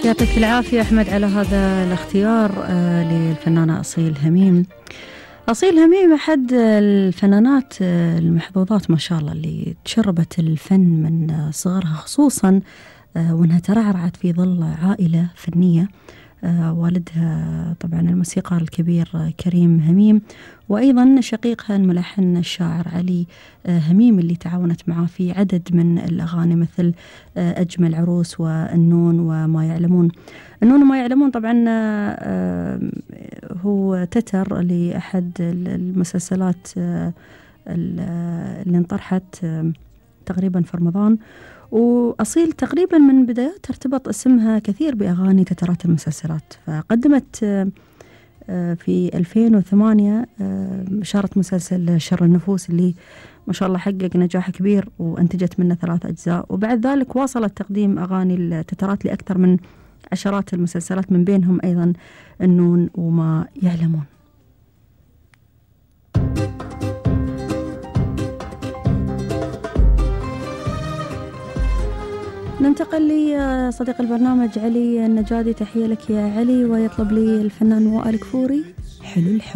يعطيك العافية أحمد على هذا الاختيار للفنانة أصيل هميم. أصيل هميم أحد الفنانات المحظوظات ما شاء الله اللي تشربت الفن من صغرها، خصوصا وأنها ترعرعت في ظل عائلة فنية. والدها طبعا الموسيقار الكبير كريم هميم، وأيضا شقيقها الملحن الشاعر علي هميم اللي تعاونت معه في عدد من الأغاني مثل أجمل عروس والنون وما يعلمون. النون وما يعلمون طبعا هو تتر لأحد المسلسلات اللي انطرحت تقريبا في رمضان، وأصيل تقريبا من بدايات ترتبط اسمها كثير بأغاني تترات المسلسلات. فقدمت في 2008 شارت مسلسل شر النفوس اللي ما شاء الله حقق نجاح كبير وانتجت منه 3 أجزاء، وبعد ذلك واصلت تقديم أغاني التترات لأكثر من عشرات المسلسلات، من بينهم أيضا النون وما يعلمون. ننتقل لصديق البرنامج علي النجادي. تحية لك يا علي، ويطلب لي الفنان وائل كفوري حلو الحب.